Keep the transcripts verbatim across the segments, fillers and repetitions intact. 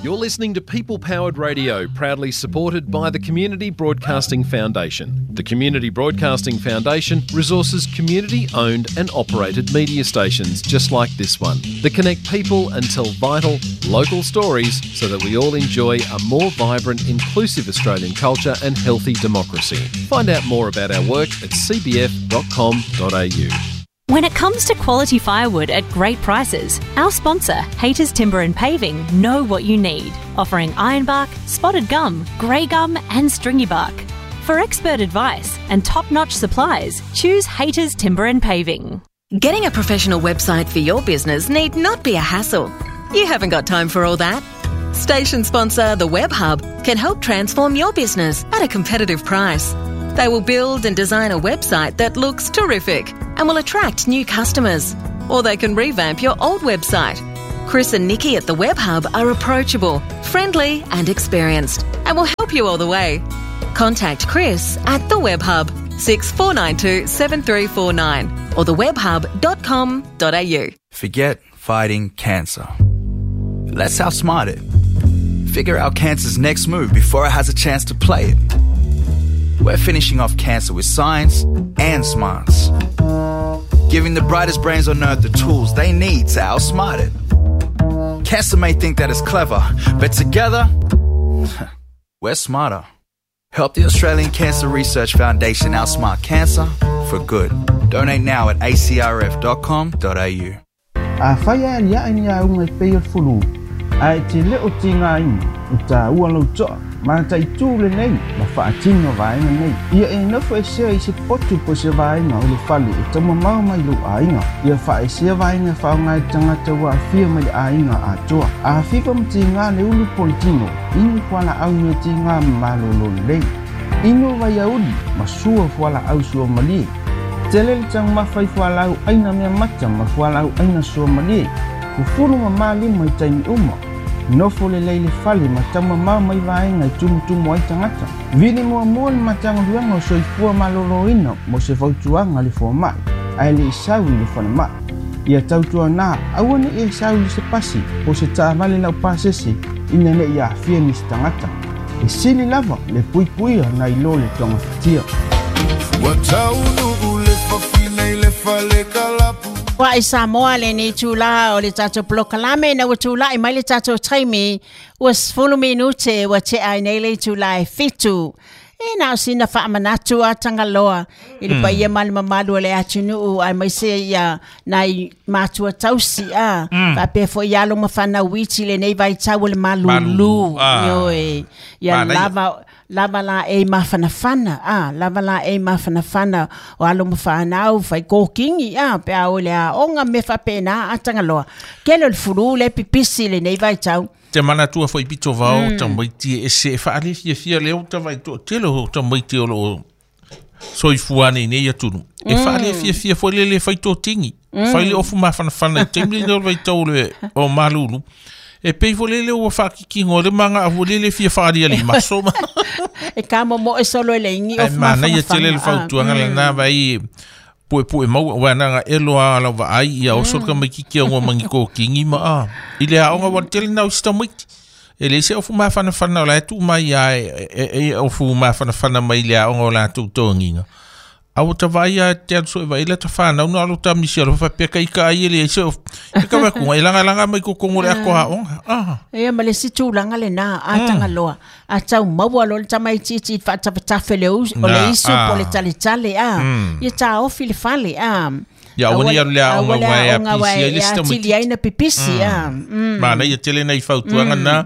You're listening to People Powered Radio, proudly supported by the Community Broadcasting Foundation. The Community Broadcasting Foundation resources community-owned and operated media stations just like this one that connect people and tell vital, local stories so that we all enjoy a more vibrant, inclusive Australian culture and healthy democracy. Find out more about our work at c b f dot com dot a u. When it comes to quality firewood at great prices, our sponsor, Hayters Timber and Paving, know what you need, offering ironbark, spotted gum, grey gum and stringy bark. For expert advice and top-notch supplies, choose Hayters Timber and Paving. Getting a professional website for your business need not be a hassle. You haven't got time for all that. Station sponsor, The Web Hub, can help transform your business at a competitive price. They will build and design a website that looks terrific and will attract new customers. Or they can revamp your old website. Chris and Nikki at The Web Hub are approachable, friendly and experienced and will help you all the way. Contact Chris at The Web Hub, six four nine two seven three four nine or the web hub dot com dot a u. Forget fighting cancer. Let's outsmart it. Figure out cancer's next move before it has a chance to play it. We're finishing off cancer with science and smarts. Giving the brightest brains on earth the tools they need to outsmart it. Cancer may think that it's clever, but together, we're smarter. Help the Australian Cancer Research Foundation outsmart cancer for good. Donate now at a c r f dot com dot a u. A whaia alia ai ni a unga i pei o fulu, a e te leo te ngā ina, i tā ua lau toa, ma tai tū le nei, ma whaatino vaenga nei. Ia e nofo e sea i se potu po se vaenga o le fale e tama mau mai lo ainga. Ia wha e sea vaenga whaonga e tangata wa awhia mai le ainga a toa. A whiwa mti ngā le ulu politino, inu kuala au me te ngā malolo lei. Inu vai auli, ma sua fuala au sua malie. Tele le tang mawhai fuala au aina mea mata ma fuala au aina sua malie. Kufuru ma malima i taimi uma. Nofo le leile fale ma tama mau mai vaenga i tumutumu ai tangata. Vili mua mua le matanga luanga o soifua maloloina mo se fautuanga le fua mai, ae le isau i le fana mai. Ia tautua nā, aua ne e isau i se pasi, po se taavale lau pasese, ina ne i aafia ni se tangata. E sili lava le puipuia na ilo le tonga fatia. Wataunu le fafina i le fale kalapu. Wa i Samoa le ni tūla o le tātou polokalame na ua tūla i mai le tātou taimi ua sefulu minute ua te ai nei le tūla e fitu. E nā o sina whaamanatu a Tangaloa i le paia mali mamalu o le atunuu ai mai se ia nai mātua tausi a mm. Whapea fo i alo mawhana witi le nei vai tau o le malulu. Ioe. Ia lava lava la e mawhanawhana, ah, lava la e mawhanawhana o alo mawhanau, whai kōkingi, ah, pea o le a onga me whapena a Tangaloa. Kele o le furu le pipisi le nei vai tau. Te manatua foi pito vao, mm. tamaiti e se whaale fia fia leo tawai to tele ho tamaiti o lo soifuane nei atunu. E whaale fia fia foi lele whai tō tingi. Mm. Whai le ofu mawhanawhana i temli leo vai tau le o malulu. E pei fo lele ua whakikingo le manga afu lele fia whaari ali maso ma. E ka momo e solo ele ingi ofu mawhanawhana. Ai mana ia tele le fautuanga mm. lana vai pue pue mau wana elo a lava ai ia o solka mai kiki o mangi ko kingi ma a ile a onga wa tele na ustamit ele se ofu mawhanawhana o la tu mai a e ofu mawhanawhana mai le a onga la tu tonginga. Au ta vai a te anso e vai le ta whanau no alo ta misi alo whapeka i ka ai ele se e ka wakunga e langa langa mai kokongo le ako ha onga. Ah. E ma le si tūlanga le nā a Tangaloa. A tau maua lo le tamai titi whaatawatafe le o le isu po le tale tale a. Ia tā ofi le fale a. Ia awani alu le a onga wai a pisi ai le sita mai. Tili ai na pipisi a. Mana ia tele nei fautuanga nā.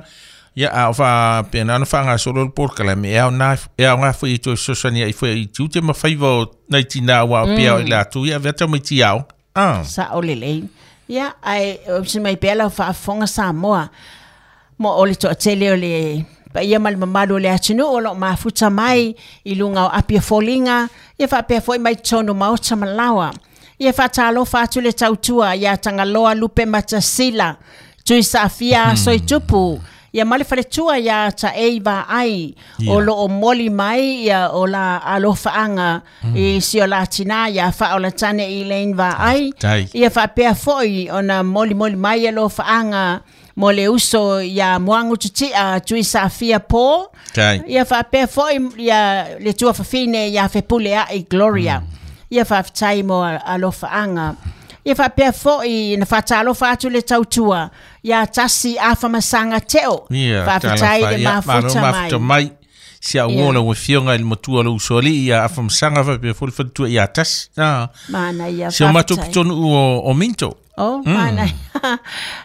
Ia a fa pena no whanga solo le porkala me au na e au ngā fui i toi sosani ai fui i tiute ma whaiva o nei tina wa o pia o i lātu ia veta mai ti au. Ah. Sa o lelei. Ia ai o si mai pela whaafonga Samoa. Mo o le toa tele o le paia ma le mamalu o le atunu o lo mafuta mai i lunga o apia folinga ia whaapea foi mai tono maota malawa. Ia whaatalo whaatu le tautua ia Tangaloa Lupe Matasila tui saafia mm. soitupu. Ia male whaletua ia ta eiva ai yeah. O lo o moli mai ia o la alofaanga mm. I si o la tina ia wha o la tane i lein va ai. Ia whapea foi o na moli moli mai alofaanga mo le uso ia Moagu Tutia tui Safia Po. Ia faapea fo'i ia le tuafafine ia Fepulea'i Gloria. Ia faafetai mo alofaaga. Ia faapea fo'i na faatalofa atu le tautua ia Tasi Afamasaga Teo. Faafetai le mafuta mai. Si a uo la ua i le matua lo usoli ia Afamasaga faapea foi le faletua ia Tasi. Mana ia si o matou pitonu o, o Minto. Oh, mana.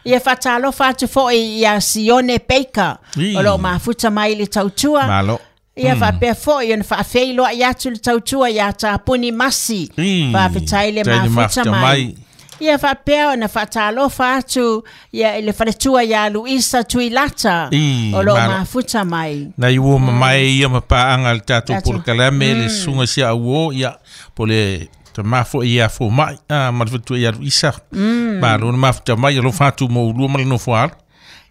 Ia faatalofa atu fo'i ia Sione Baker. O loo mafuta mai le tautua. Malo. Ia faapea fo'i ona faafeiloai atu le tautua ia Tapuni Masi. Faafetai le mafuta mai. Ia faapea ona faatalofa atu ia le faletua ia Luisa Tuilata. O loo mafuta mai. Na iua mamae ia mapaaga le tatou polokalame le susuga si auo ia po le tamafo ia fo mai ma le faletua ia Luisa. Malo na mafuta mai alofa atu mo ulua ma le nofo alo.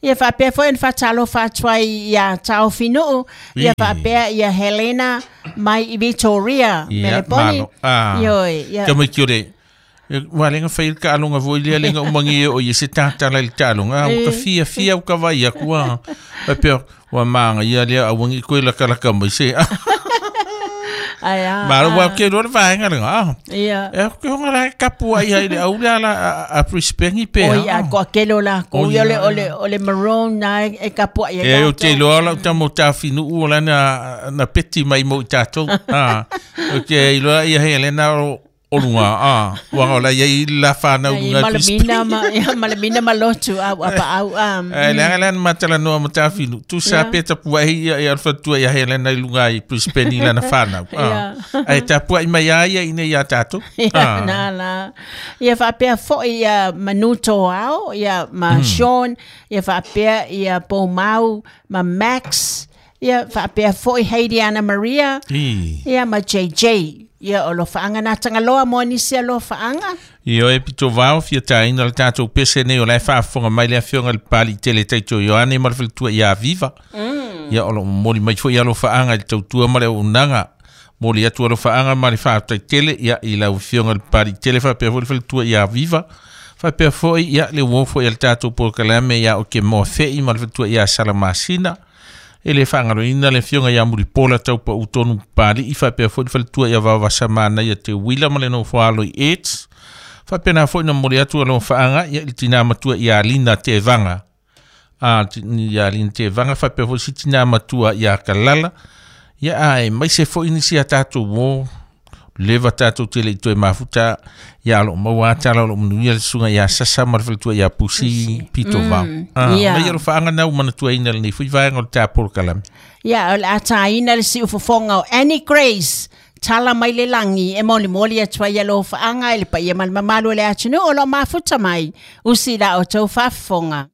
Ia faapea foi ona faatalofa atu ai ia Taofinuu. Ia faapea ia Helena mai i Victoria Meleponi. Ioe. Tamaiti o le ua lenga fai le taaloga foi lea lenga umagia o ia se tatala i le taaloga ua ka fiafia ua ka vai aku a faapea ua magaia lea auagi koe lakalaka mai se Ai a. Malo ua ke loa le vaega lega. Ia. E ke honga la kapu ai ai le au le ala a Brisbane pe. Oi a ko kelo la ko o le o le o le maroon na e kapu ai. E o te loa la tamo tafinu o la na na peti mai mo tatou. Ah. O ke loa ia Helena o olunga a wa ola ia la fana unga malamina ma malamina malotu au apa au am e le ala matala no matafinu tu sa peta puai ia ia fatua ia Helena lunga i Brisbane la na fana a e ta puai mai ia ina ia tatu a na la ia faapea foi ia Manuto au ia ma Sean ia faapea ia Pomau ma Max ia faapea foi Heidi Anna Maria ia ma J J ia o lofaanga na tangaloa mo nisi a lofaanga. Ia e pito vao fia taina le tatou pese nei o la e faafofoga mai le afioga le pali tele taito Ioane ma le faletua ia Viva. Ia o lo momoli mai foi ia lofaanga i le tautua ma le auaunaga. Moli atu a lofaanga ma le faataitele ia i lau afioga le pali tele faapea foi le faletua ia Viva. Faapea foi ia le uo foi ia le tatou polokalame ia o ke moa fei ma le faletua ia Salamasina. E le whaangaloina le fionga ia Muripola taupa utonu pali i faapea foi le faletua ia Vavasamana ia Te Wila ma le nofo alo i AIDS. Faapea na foi na moli atu alo whaanga ia i tina matua ia Alina Te Vanga. A ia Alina Te Vanga faapea foi si tina matua ia Kalala. Ia ae mai se foi nisi a tātou wō. Leva tātou tele i toe mafuta ia alo maua atala alo manuia le susuga ia Sasa ma le faletua ia Pusi Pito Vao. Ia. Mai alo whaanga nau manatua ina le nei fui vaenga o le tā polokalame. Ia, o le ataina le siufofoga o Annie Grace. Tala mai le langi e moli moli atu ai alo whaanga e le paia ma le mamalu o le atunuu o lo mafuta mai. Usi la o tau faafofoga.